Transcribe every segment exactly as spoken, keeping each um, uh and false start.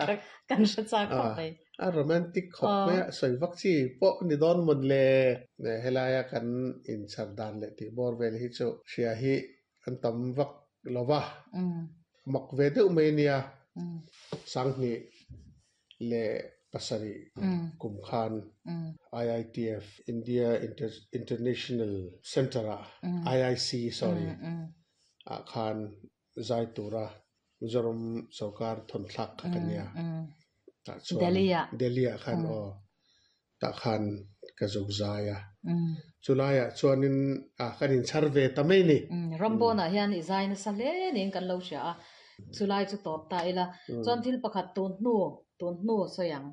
Tak kan hre chak khawp mai. A romantic khawp mai a, sawi vak chi pawh ni dawn mawn le. Helaia kan inchhar dan leh tih bawr vel hi chu hria hi an tam vak lo va. Mak ve deuh mai nia. Sanghnih leh pasarih kum khan I I T F, India International Center ah, I I C, sorry, ah khan zai tura Mizoram sarkar thawn thlak kha ka nia. Tah chuan Delhi ah. Delhi ah khan aw, tah khan ka zuk zai a. Chulaiah chuanin a kan inchhar ve ta mai ni. Rampawna hian i zai nasa hle niin kan lo hria a. Chulai chu tawp ta ila. Chuan thil pakhat tun hnu tun hnu sawi ang.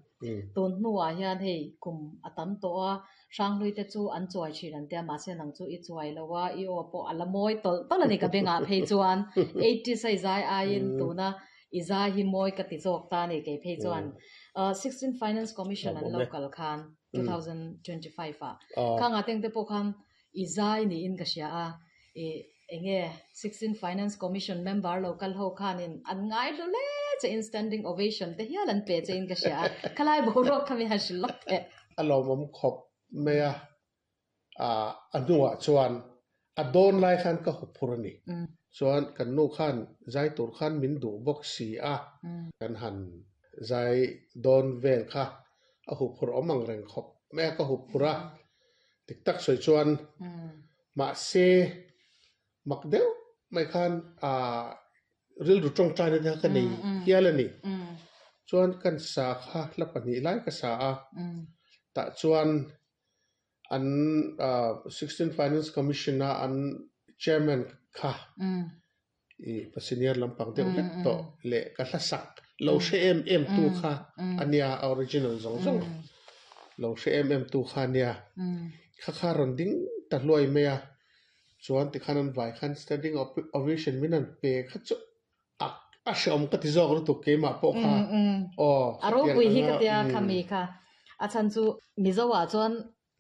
Tun hnuah hian hei kum a tam tawh a, Hranghlui te chu an chuai thin an tia, mahse nang chu i chuai lo a, i aw pawh a la mawi tawlh tawlh ani ka bengah phei chuan eighties a i zai aiin tuna i zai hi mawi ka ti zawk ta ani kei phei chuan. Sixteen Finance Commission an lo kal khan two thousand twenty five ah khanga teng te pawh khan i zai niin ka hria a, i enge sixteen Finance Commission member lo kal ho khanin an ngai hlu hle che in, standing ovation te hial an pe che in ka hria a. Khalai boruak kha mi han hrilh lawk teh. A lawmawm khawp mai a, a hnuah chuan a dawn lai khan ka hup phur ani. Chuan kan nu khan zai tur khan min duh bawk si a, kan han zai dawn vel kha a hup phur awm ang reng khawp mai a, ka hup phur a. Tik tak sawi chuan mahse mak deuh mai khan a rilru tawngtai na te kha ka nei hial ani. Chuan kan sa kha hla pahnih lai ka sa a. Tah chuan an sixteen Finance Commission a an chairman kha i pa senior lampang deuh hlek tawh leh ka hla sak lo hre em em tu kha ania, original zawng zawng lo hre em em tu kha ania. Kha kha rawn ding ta hluai mai a. Chuan tikhan an vai khan standing ovation min an pe kha chu a a hreawm ka ti zawk lutuk keimah pawh kha. Aw. A ropui hi ka tia khami kha. A chan chu Mizoah chuan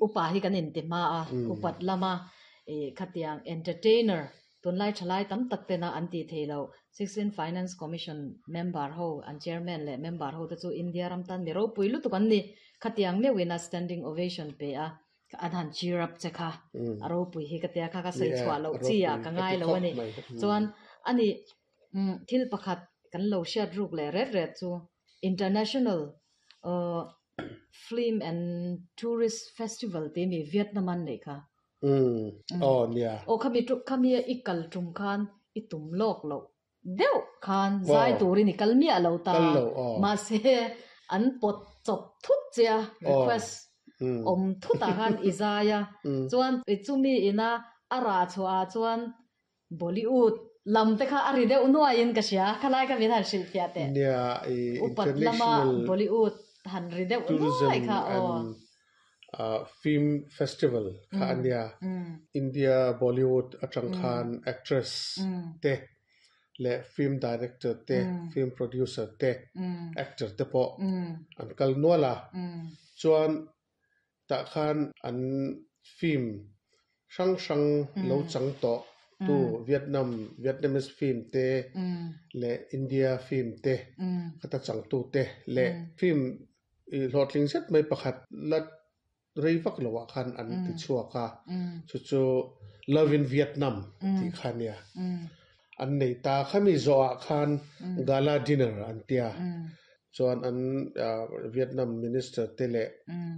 upa hi kan inti hma a, upat lama e khatiang entertainer tunlai thalai tam tak tena an ti thei lo. Sixteen Finance Commission member ho, an chairman leh member ho te chu India ram tan mi ropui lutuk an ni. Khatiang meuhin a standing ovation pe a, an han cheer up che kha a ropui hi ka tia kha ka sawi chhuah loh chi ah ka ngai lo ani. Chuan ani thil pakhat kan lo hriat ruk leh ret ret chu International uh Film and Tourist Festival te mi Vietnam an nei kha. Aw nia. Aw, khami tu khami i kal tum khan i tum lawk lo deuh khan zai turin i kal miah lo ta. Kal lo aw. Mahse an pawt chawp thut che a, request awm thutah khan i zai a. Chuan chumi ina a rah chhuah ah chuan Bollywood lam te kha a ri deuh nuaiin ka hria. Khalai kha min han hrilh fiah teh. Nia, i upat lama international Bollywood han ri deuh tourism nuai kha aw. And uh, film festival kha ania. India Bollywood atang khan actress te leh film director te, film producer te, actor te pawh an kal nual a. Chuan tah khan an film hrang hrang lo chang tawh tu Vietnam, Vietnamese film te leh India film te khata chang tu te leh film i hlawhtling zet mai pakhat la rei vak lo ah khan an ti chhuak a. Chu chu Love in Vietnam tih kha ania. An nei ta khami zawh ah khan gala dinner an tia. Chuan an Vietnam minister te leh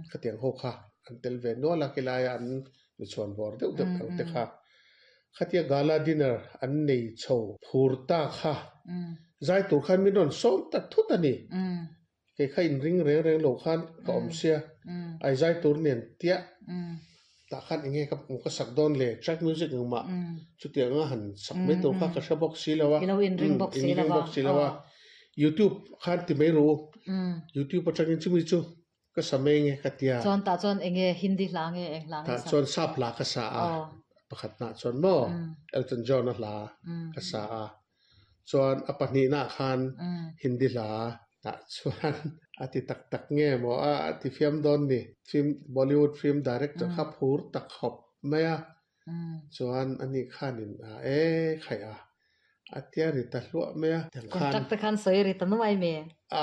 khatiang ho kha an tel ve nual a, khilaiah an mi chhuan bawr deuh deuh ang te kha. Khatia gala dinner an nei chho phur ta kha zai tur khan min rawn sawm ta thut ani. Kei kha in ring reng reng lo khan ka awm sia. Ai zai tur nen tia tah khan enge ka ka sak dawn le, track music engmah chutiang anga han sak mai tur kha ka hre bawk si lo a. I lo inring bawk si inring lova. Bawk si lo a. YouTube khan ti mai ru. YouTube atangin chumi chu ka sa mai nge ka tia. Chuan tah chuan enge Hindi hla nge eng hla nge Tah sa? Chuan sap hla ka sa a. Aw. Pakhat na chuan maw Elton John a hla ka sa a. Chuan a pahnih na khan Hindi hla tah chuan a ti tak tak nge maw a ti fiam dawn ni. Film, Bollywood film director kha phur tak khawp mai a. Chuan ani khanin a e khai a. A tia ri ta hluah mai a. Tiang khan Contract te khan sawi ri ta nuai me. A